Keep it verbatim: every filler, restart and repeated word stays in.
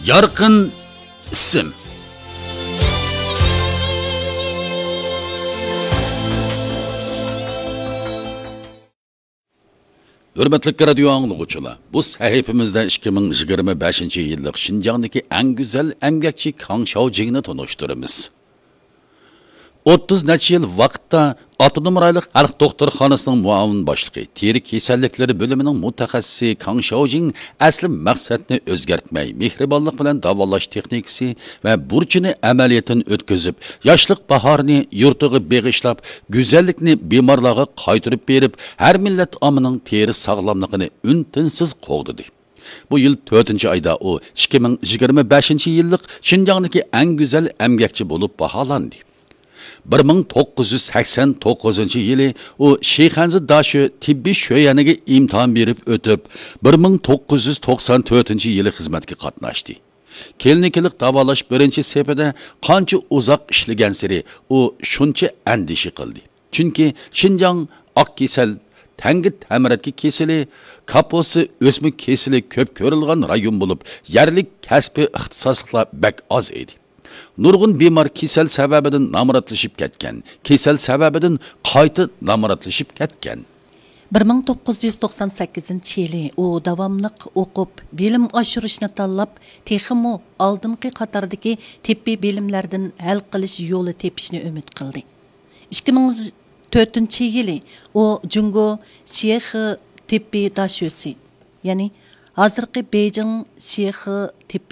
يارقىن ئىسىم. ھۆرمەتلىك رادىيو ئاڭلىغۇچىلار، بۇ سەھىپىمىزدە ئىككى مىڭ يىگىرمە بەشىنچى يىللىق شىنجاڭدىكى ئەڭ گۈزەل ئەمگەكچى كاڭ شياۋجىڭنى تونۇشتۇرىمىز. ئوتتۇز نەچچە يىل ۋاقىتتا ئاپتونوم رايونلۇق خەلق دوختۇرخانىسىنىڭ مۇئاۋىن باشلىقى، تېرە كېسەللىكلىرى بۆلۈمىنىڭ مۇتەخەسسىسى كاڭ شياۋجىڭ ئەسلى مەقسەتنى ئۆزگەرتمەي، مېھرىبانلىق بىلەن داۋالاش تېخنىكىسى ۋە بۇرچىنى ئەمەلىيەتتىن ئۆتكۈزۈپ، ياشلىق باھارىنى يۇرتىغا بېغىشلاپ، گۈزەللىكنى بىمارلارغا قايتۇرۇپ بېرىپ، ھەر مىللەت ئاممىنىڭ تېرە ساغلاملىقىنى ئۈن-تىنسىز قوغدىدى. بۇ يىل تۆتىنچى ئايدا ئۇ ئىككى مىڭ يىگىرمە بەشىنچى يىللىق شىنجاڭدىكى ئەڭ گۈزەل ئەمگەكچى بولۇپ باھالاندى. بىر مىڭ توققۇز يۈز سەكسەن توققۇزىنچى يىلى ئۇ شىخەنزى داشۆ تېببىي شۆيەنىگە ئىمتىھان بېرىپ ئۆتۈپ، بىر مىڭ توققۇز يۈز توقسان تۆتىنچى يىلى خىزمەتكە قاتناشتى. كلىنىكىلىق داۋالاش بىرىنچى سېپىدە قانچە ئۇزاق ئىشلىگەنسېرى ئۇ شۇنچە ئەندىشە قىلدى. چۈنكى شىنجاڭ ئاق كېسەل، تەڭگە تەمرەتكە كېسىلى، كاپوسا ئۆسمە كېسىلى كۆپ كۆرۈلگەن رايون بولۇپ، يەرلىك كەسپىي ئىختىساسلىقلار بەك ئاز ئىدى. نۇرغۇن بىمار كېسەل سەۋەبىدىن نامراتلىشىپ كەتكەن، كېسەل سەۋەبىدىن قايتا نامراتلىشىپ كەتكەن. بىر مىڭ توققۇز يۈز توقسان سەككىزىنچى يىلى ئۇ داۋاملىق ئوقۇپ، بىلىم ئاشۇرۇشنى تاللاپ، تېخىمۇ ئالدىنقى قاتاردىكى تېببىي بىلىملەردىن ھەل قىلىش يولى تېپىشنى ئۈمىد قىلدى. ئىككى مىڭ تۆتىنچى يىلى ئۇ جۇڭگو شىخې تېببىي داشۆسى، يەنى ھازىرقى بېيجىڭ شىخې تېببىي